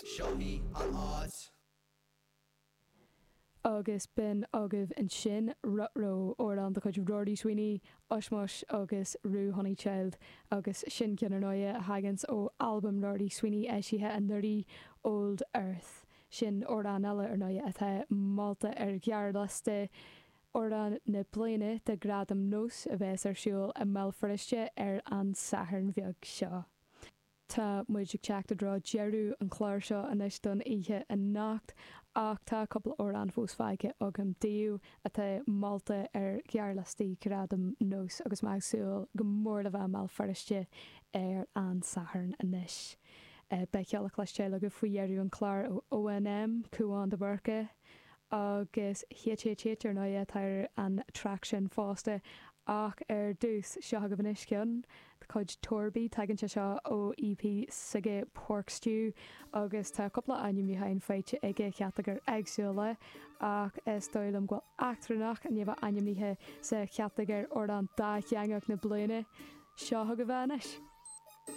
Seo í an áit. Agus b'in agaibh ansin Ruh-Roh, amhrán de chuid Rory Sweeney, Ushmush agus Rue Honeychild, agus sin ceann ar ndóighe a thaganns ó albam Rory Sweeney eisithe anuraidh, Old Earth. Sin amhrán eile ar ndóighe atá molta ar ghearrliosta Amhrán na Bliana do Ghradaim Nós a bheas ar siúl i mBéal Feirste ar an Satharn bheag seo. Tá muid ag teacht i dtreo deireadh an chláir seo anois don oíche anocht ach tá cúpla amhrán fós fágtha agam daoibh atá molta ar ghearrliostaí Ghradaim Nós agus mé ag súil go mór le bheith i mBéal Feirste ar an Satharn anois. Beidh ceol le cloisteáil agaibh faoi dheireadh an chláir ó ONM, Cúán de Búrca, Agus HHH ar ndóighe atá ar an traic sin fosta. Ach ar dtús, seo agaibh anois ceann de chuid Torby. Tagann sé seo ó EP s'aige Pork Stew agus tá cúpla ainmniúcháin faighte aige, chatagóir éagsúla, ach is dóigh liom go bhfuil Eachtrannach i ndiaidh a bheith ainmnithe sa chatagóir Amhrán Dátheangach na Bliana. Seo chugaibh é anois.